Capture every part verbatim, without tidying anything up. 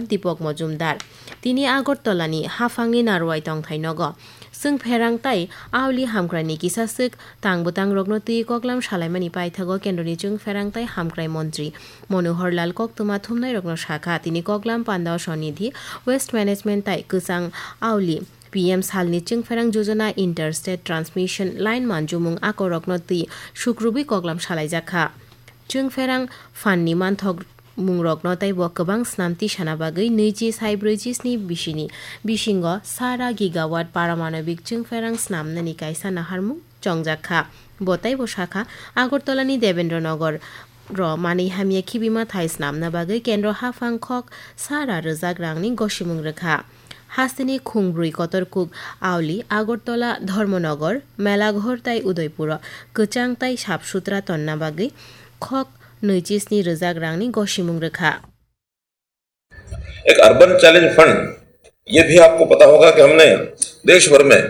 Dipok Mojumdar. Tini Agartala ni haphang ni Narwai tongthai nogo. Chwng pherang tai auli hamkrai ni kisa swk tang bwtang rokno twi koklam salaimani paithago kendro ni chwng pherang tai hamkrai montri Manohar Lal koktwma thumnai rokno sakha. Tini koklam pandao sonidhi, waste management tai kwchang auli P M salni chwngpherang jojona interstate transmission line manjumung akorokno twi sukrubwi koklam salaijakha. Chwngpherang phanni manthok mungrokno teibo kwbang snam tisana bagwi nwichi sai brwichi sni bisini bisingo sara gigawatt paramanobik chwngpherang snamnani kaisa naharmung chongjak kha. Bo teibo sakha, Agartala ni Debendra Nagar ro manwi hamya khibima thai snamna bagwi kendro haphang khok sara rwjak rangni gosimung rwkha. Hasteni khungbrwi kotor kuk auli Agartala, Dharmanagar, Melaghor tai Udaipuro kwchang tai sap sutra tonna bagwi khok nwichi sni rwjak rangni gosimung rwkha. एक urban challenge fund, ये भी आपको पता होगा कि हमने देश भर में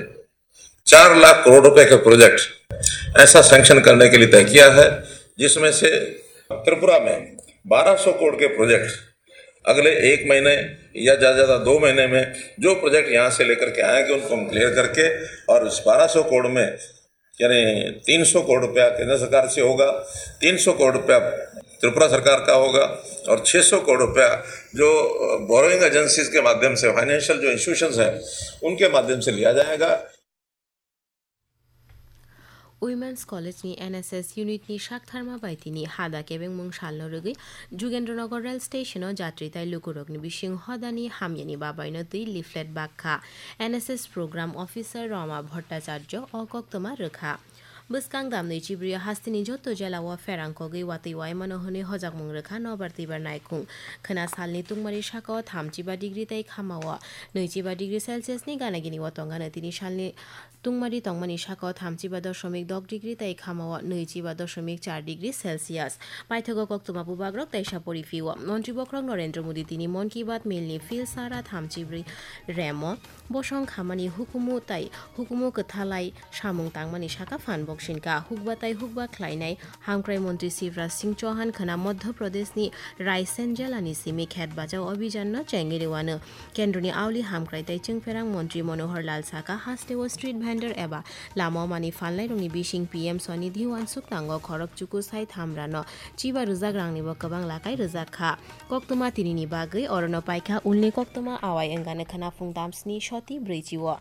चार लाख करोड़ रुपए का प्रोजेक्ट ऐसा सैंक्शन करने के लिए तय किया है, जिसमें से त्रिपुरा में बारह सौ करोड़ के प्रोजेक्ट अगले एक महीने या ज़्यादा ज़्यादा दो महीने में जो प्रोजेक्ट यहाँ से लेकर के आएंगे, उनको हम क्लियर करके और इस बारह सौ करोड़ में यानी तीन सौ करोड़ रुपया केंद्र सरकार से होगा, तीन सौ करोड़ रुपया त्रिपुरा सरकार का होगा और छह सौ करोड़ रुपया जो बोरोइंग एजेंसीज के माध्यम से, फाइनेंशियल जो इंस्टीट्यूशंस हैं, उनके माध्यम से लिया जाएगा। Women's College ni N S S unit ni saktharma bai tini hada kebengmung salno rwgwi Jugendranagar rail station o jatri tai lukurokni bising hodani hamyani babaino twi leaflet bakha N S S program officer Roma Bhattacharya o koktwma rwkha. Bwskang damni chibrio hasteni joto jela o pherang kogwi watwi waimano hwnwi hojakmung rwkha nobar twibar naikhung. Khwna salni tungmari sakao thamchiba degree tei khamao nwichiba degree Celsius ni gana gini o tongano tini salni tungmari tongmani sakao thamchiba dosomik dok degree tei khamao nwichiba dosomik char degree Celsius. Paithago koktwma bubagrok teisa poriphio. Montri bokhorok Narendra Modi tini Mann Ki Baat milni phil sara thamchibrwi remo bosong khamani hukumu tai hukumu kwthalai samung tangmani saka phan boksinka. Hukba tai hukba khlainai hamkrai montri Shivraj Singh Chauhan khwna Madhya Pradeshni Raisen jelani simi khet bachao abhijanno chengwi rwano. Kendroni auli hamkrai tei chwngpherang montri Manohar Lal saka hasteo street vendor eba lamao mani phalnairokni bising P M Swanithi uansuk tango khorok chuku sai thamrano chiba rwjak rangnibo kwbang lakai rwjak kha. Koktwma tinini bagwi orono paikha ulni koktwma awai wngani khwna phung damsni soti brwichi o.